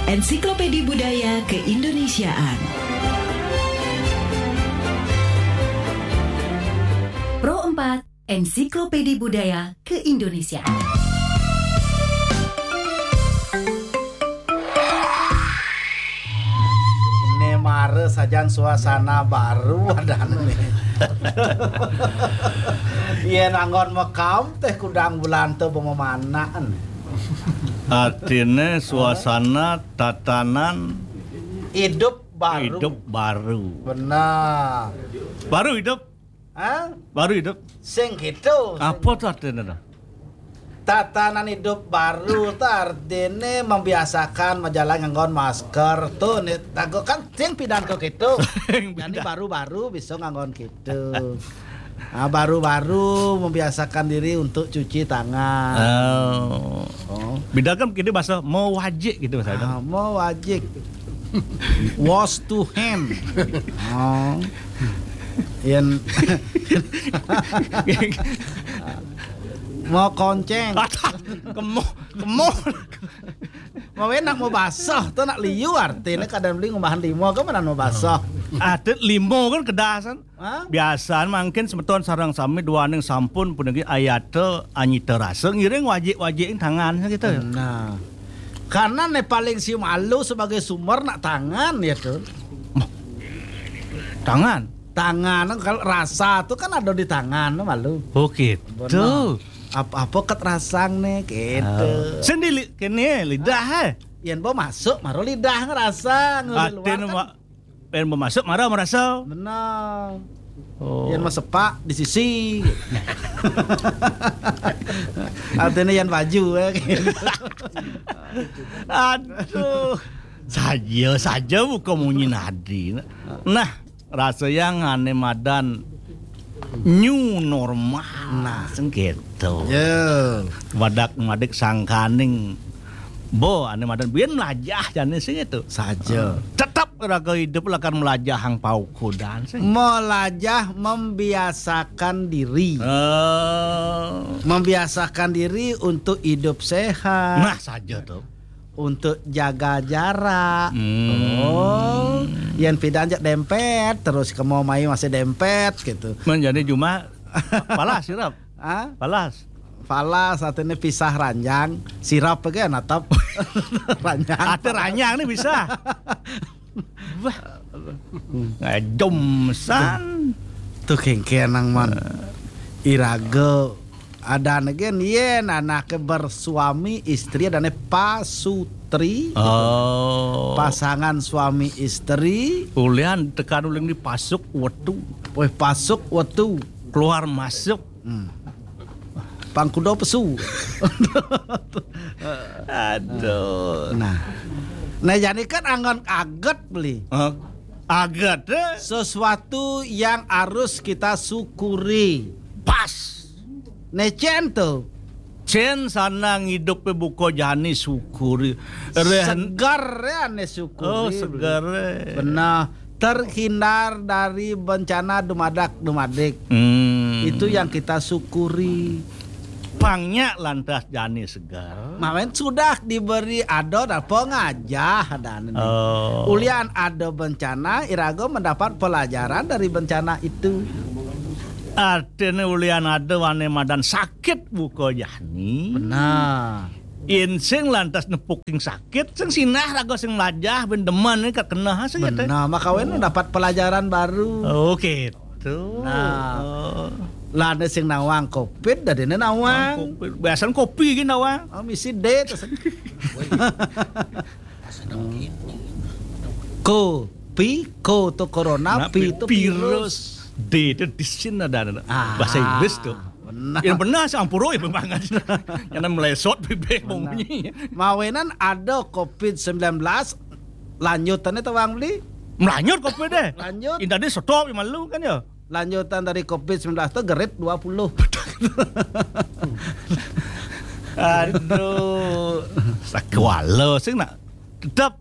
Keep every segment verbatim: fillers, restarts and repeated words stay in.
Ensiklopedi Budaya Keindonesiaan. Pro empat, Ensiklopedi Budaya Keindonesiaan. Né mara sajan suasana baru adané. Yén anggon makam téh kudang bulan to pememanan. Artiné suasana tatanan Hidup baru. Hidup baru. Benar. Baru hidup. Hah? Baru hidup. Sing gitu. Apa tuh artinya tuh? Tatanan hidup baru tuh artinya membiasakan majalan nganggon masker tuh nih tago kan sing pidan kok gitu. Jadi baru-baru bisa nganggon gitu. Nah, baru-baru membiasakan diri untuk cuci tangan. Oh. Oh. Beda kan kita bahasa mau wajik gitu bahasa. Ah, mau wajik. Wash to hand. Oh. Yang mau konceng. Kemo, kemo. Mau enak mau basah tuh nak liu artinya kadang beli ngumbahan limo kan mana mau basah. Ada limo kan kedasan. Hah? Biasaan mangkin semeton sareng sami duaning sampun puniki ayata anyita rasa ngiring wajik-wajik tangan gitu. Nah, karena nih paling si malu sebagai sumber nak tangan ya tuh. Tangan. Tangan kalau rasa tuh kan ada di tangan malu. Oh gitu. Benar. Apa-apa ket rasang nih gitu. Sendiri kene lidah eh. Yang mau masuk maru lidah ngerasa ngeluar Atin kan. Wa- Pen mau masuk marah merasa. Benar. Oh. Yang mau sepak di sisi. Artinya yang baju ya. Aduh. Saja saja buka munyi nadi. Nah, rasa yang ane madan new normal. Nah, sing gitu. Ya, Madak madik sangkaning. Bo, ane madan biyen melajah jane sing itu. Saja. Tetap raga hidup lakar melajah hang paukudan sing. Melajah membiasakan diri. Eh, Membiasakan diri untuk hidup sehat, nah saja tuh. Untuk jaga jarak. Hmm. Oh, yang pidan jak dempet terus kemo mai masih dempet gitu. Menjadi cuma palas sirap. Ah, Palas. Falas artinya pisah ranjang, sirap ke natap ranjang. Ada ranyang nih bisa. Wah. Ngajomsan. Tuh kengkenang man. Iraga ada negen yen anaknya bersuami istri adane pasutri. Oh. Pasangan suami istri. Ulian tekan uling di pasuk wetu. Weh pasuk wetu. Keluar masuk. Hmm. Pangkudo pesu. Aduh. Nah. Nah, jadi kan anggon aget beli. Hah? Aget eh? Sesuatu yang harus kita syukuri. Pas. Necen tuh. Cen sana ngidup buko jani syukuri. Reh- Segar ya ane syukuri. Oh, segar. Eh. Benar. Terhindar dari bencana dumadak dumadik. Hmm. Itu yang kita syukuri. Pangnya lantas jani segar. Mawen sudah diberi ado dan pengajah dan ini. Oh. Ulian ada bencana, irago mendapat pelajaran dari bencana itu. Artine ulian ada wane madan sakit buko jani. Nah, Yen sing lantas nepuking sakit, sing sinah raga sing melajah ben demen kat kena sing gitu. Benar, maka wen dapat pelajaran baru. Oh gitu. Nah. Oh. Lah ada sing nawang covid, dadine nawang. Biasanya kopi gini nawang. Oh, misi D terus. Ko, pi, ko to corona, Nah, pi to virus. Virus. D itu di sini ada, ada. Ah, Bahasa Inggris tuh. Benar. Yang benar sih ampuro ya memang aja. Yang melesot bebek bunyi. Mawenan ada covid sembilan belas, lanjutannya tawang beli. Melanjut covid deh. Lanjut. Indah deh stop yang malu kan ya. Lanjutan dari covid sembilan belas itu gerit dua puluh. Aduh. Sakwala sing nak tetap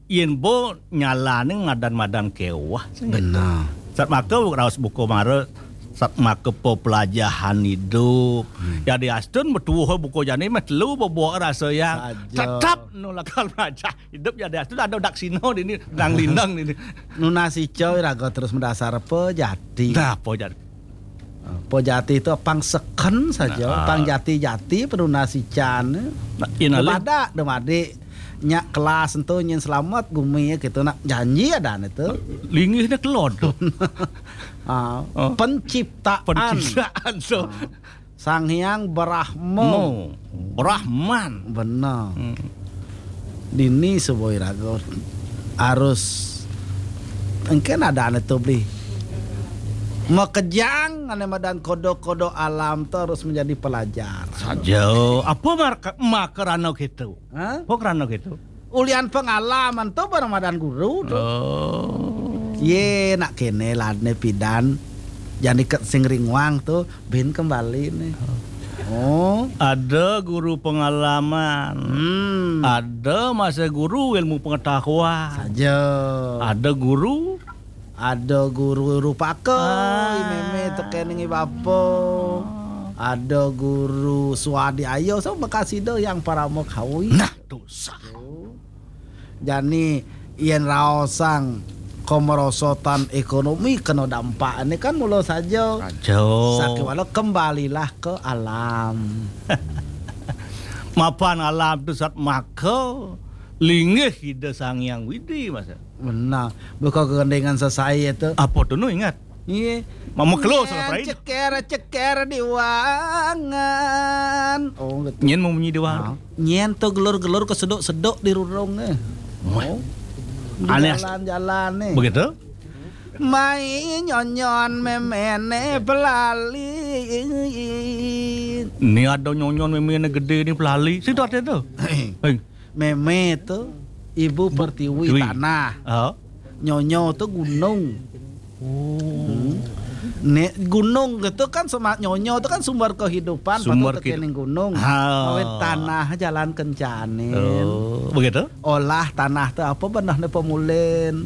yen bo nyalane ngadan-madan kewah. Sing Benar. Sat maka raos buku mara Satmaka pepelajahan idup. Hmm. Jadi astun betuwuh buka jani meh telu bebok rasa yang tetap nu lakar melajah idup. Jadi astun ada daksina dini, nang lindang dini. Nunas ica iraga terus madasar pejati. Nah, pejati. Pejati itu pang seken saja, nah, pang jati-jati penunas ican. Nah, ina lih. Pada dumadi nya kelas ento nyin selamat gumi gitu nak janji ada ento. Linggihnya kelod. Ah, oh. Penciptaan. Penciptaan, so. Ah. Sang Hyang Brahma. Mo. Brahman. Benar. Hmm. Dini suba iraga harus engken ada ane tu beli. Makejang ane madan kodo-kodo alam tu harus menjadi pelajar. Saja. Apa marka-, makarana gitu? Ha? Apa karana gitu? Ulian pengalaman tu barang madan guru tu. Oh. Ye, nak kene ladne pidan. Jani ket sing ringuang tu bin kembali nih. Oh. Ada guru pengalaman. Hmm. Ada masa guru ilmu pengetahuan. Saja. Ada guru. Ada guru rupaka, ah, i meme teken ngi bapa. Ada guru suadi ayo, so bekas ida yang parama kawi. Nah, tu sah. Jani yen raosang kemerosotan ekonomi kena dampak ni kan mula saja. Saja. Sakiwala kembalilah ke alam. Mapan alam tu satmaka linggih Ida Sang Hyang Widi, masa. Benar. Buka kegendengan sesai itu. Apa tu nu ingat? Iya. Mama kelo salah perai. Ceker, ceker di wangan. Oh, gitu. Nyen mau munyi di wangan. Ah. Nyen tu gelur-gelur ke seduk-seduk di rurung eh. Wah. Oh. Di aneh. Jalan-jalan nih. Begitu? Mai nyonyon memene pelali. Ni ada nyonyon memene gede ni pelali. Situ ada tu. Hei. Hei. Meme tu ibu pertiwi, pertiwi, tanah. Oh. Nyonyo tu gunung. Oh. Hmm. Ne, gunung gitu kan sama nyonyo tu kan sumber kehidupan, sumber patut kening gunung. Ha. Awet tanah jalan kencanin. Oh, begitu? Olah tanah tu apa benah ne pemulin.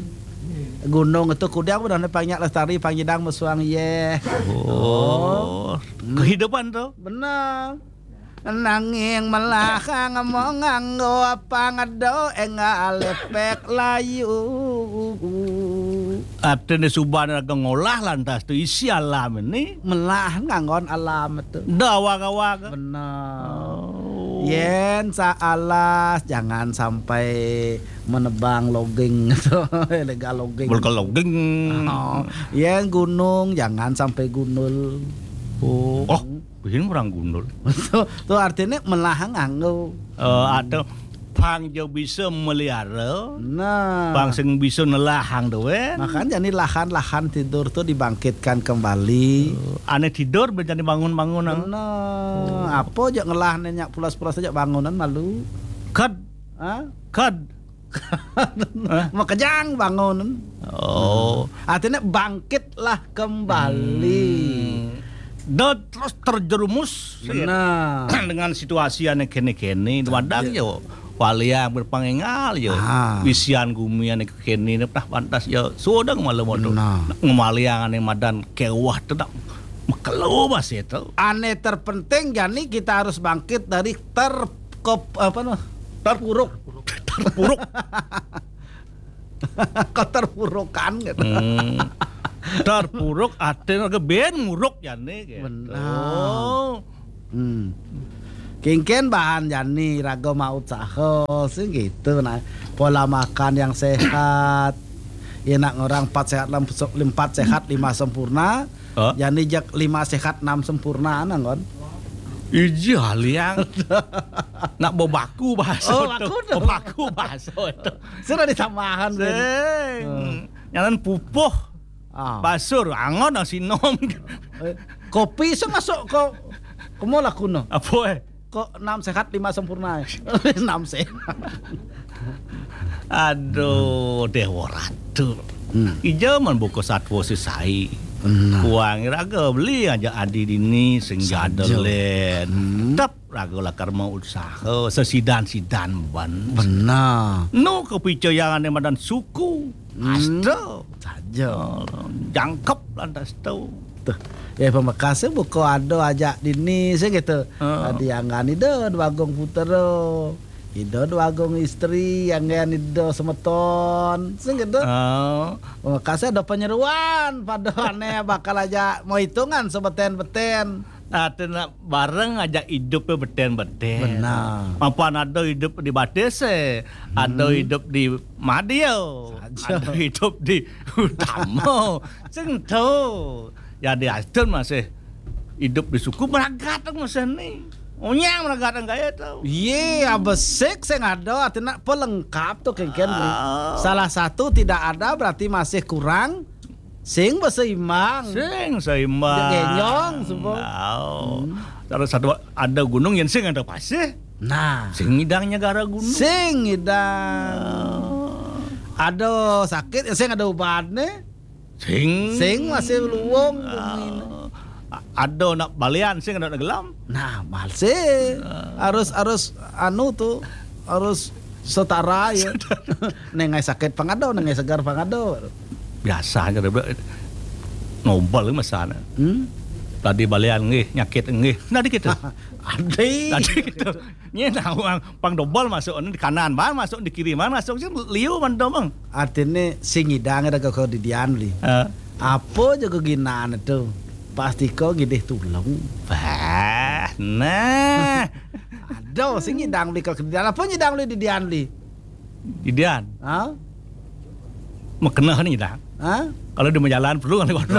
Gunung itu kudang benah ne panyak lestari panjidang mesuang yeh. Oh. Oh. Hmm. Kehidupan tu. Benar. Nanging melahang mau nganggo apa ngedo enggak lepek layu. Artine suban raga ngolah lantas tu isi alam ini. Melah nganggon alam tu. Dawag-awag. Benar. Oh. Yen saalas jangan sampai menebang logging tu. Illegal logging. Illegal logging. Oh. Yen gunung jangan sampai gundul. Oh. Oh. Bihin orang gundul. Tu, tu artine melah nganggo. Eh, atau pang jo bisa melihara. Nah. Pang sing bisa nelahang tu, eh. Makanya ni lahan-lahan tidur tu dibangkitkan kembali. Eh, ane tidur ben jadi bangun-bangun, ah. Benar. Oh. Apa je ngelah ne nyak pulas-pulas aja bangunan malu. Kad. Ha? Kad. Hah? Makejang bangun. Oh. Artinya bangkitlah kembali. Hmm. Dah terus terjerumus. Benar. Dengan situasi ane kene-kene, wadang yo. Waliang berpangengal yo. Ah. Isian gumi ane kene, nah pantas yo. Sodang malam tu. Benar. Ngemaliang ane madan kewah tu nak mekelo bas itu. Ane terpenting jani kita harus bangkit dari ter-, ke-, apa noh? Terpuruk. Terpuruk. Keterpurukan gitu. Hmm. Terpuruk artinya ke ben muruk jani gitu. Benar. Hmm. Kengken bahan jani raga mau usaha sih gitu. Nah, pola makan yang sehat. Ya nak orang empat sehat, lem-, empat sehat, lima sempurna. Hah? Jani jak lima sehat, enam sempurna, nang kon. Ija liang. Nak bebaku bahasa. Oh, tu. Baku tu. Bebaku bahasa tu. Sudah ditambahan, Ben. Sing. Hmm. Nyanan pupuh. Ah. Basur, angon nang sinom. Eh, kopi sing masuk ke, ke mall aku no. Apa, eh? Kok enam sehat, lima sempurna, eh? Enam sehat. Aduh, Dewa Ratu. Hmm. Ija man buka satwa sesai. Benar. Kuang raga beli aja adi dini sehingga ada len. Hmm. Tetap raga lakar mau usaha sesidan-sidan ban. Benar. No kepercayaan madan suku. Hmm. Asta. Saja. Oh, jangkep lantas tu. Tuh. Ya, pamekasé buka ada ajak dini, sing gitu. Heeh. Adi anggan Ida Dwagung Putra, Ida Dwagung Istri, anggan Ida semeton, sing gitu. Oh. Pamekasé ada penyeruan, pada ané bakal ajak mau hitungan sebeten-beten. Nah, tu nak bareng ajak idup beten-beten. Benar. Mapan ada idup di Batis, eh. Ada Hmm. idup di Madia. Saja. Ada idup di Utama. Sing tu. Ya, di Aston masih idup di suku meragat masih ni. Onyang meragat gaya tu. Iya, besik sing ada, artinya pelengkap tu, kengken, beli. Ah. Salah satu tidak ada, berarti masih kurang. Sing berseimbang. Sing seimbang. Genyong, semua. Au. Hmm. Terus satu ada gunung yang sing ada pasir. Nah. Sing ngidang nyegara gunung. Sing ngidang. Ah. Ada sakit, ya sing ada ubatnya. Sing. Sing masih luwung. Ah. Bumi. A-, ada nak balian, sing ada nak gelam. Nah, masih. Ah. Harus, harus anu tu, harus setara ya. Nengai sakit pangado, nengai segar pangado. Biasa aja, dia bilang, nobel masana. Hmm? Tadi balian nggih, nyakit nggih. Nah, dikit tu. Adi. Tadi gitu. Nya nawang pang dobel masuk ni di kanan, bang, masuk di kiri, bang, masuk sih liu mantap, bang. Artinya sing ngidang ada kau di Dian, Li. Eh. Apa je keginaan tu? Pasti kau gidih tulung. Bah, nah. Ada sing ngidang, Li, kalau di Dian. Apa ngidang, Li, di Dian, Li? Di Dian? Ha? Makenah ni dah. Ha? Kalau dia berjalan perlu kan lewat.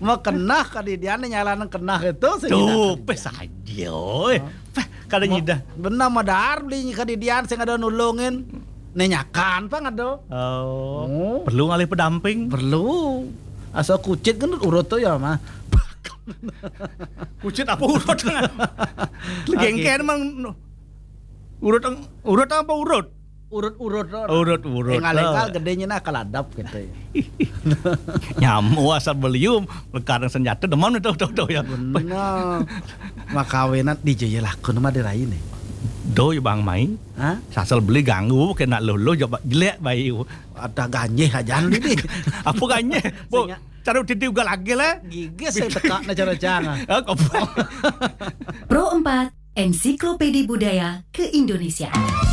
Makenah ka di Dian ni nyalan kenah itu sing ngidang. Tu, pes saja, oi. Ha? Peh, kada nyidah. Benar madar beli ka di Dian sing ada nulungin. Nenyakan pang ada. Oh. Oh. Perlu ngalih pendamping. Perlu. Asal kucit kan urut tu ya, mah. Kucit apa urut? Legengken mang urut, urut apa urut? Urut-urut tu. Urut-urut. Enggal-enggal gedenya nak kaladap gitu ya. Nyamu asal belium, lekarang senjata demen tu, tu, tu ya. Benar. Makawinan di Jaya Lakun mah dirai ni. Do ya bang mai. Ha? Sasal beli ganggu kena lolo jawab jelek bayu. Ada ganjeh aja ni. Apa ganjeh? Bu, sehingga cara titi ugal lagi lah. Gigi saya tekak na cara jangan. Ah, kau Pro empat, Ensiklopedi Budaya Keindonesiaan.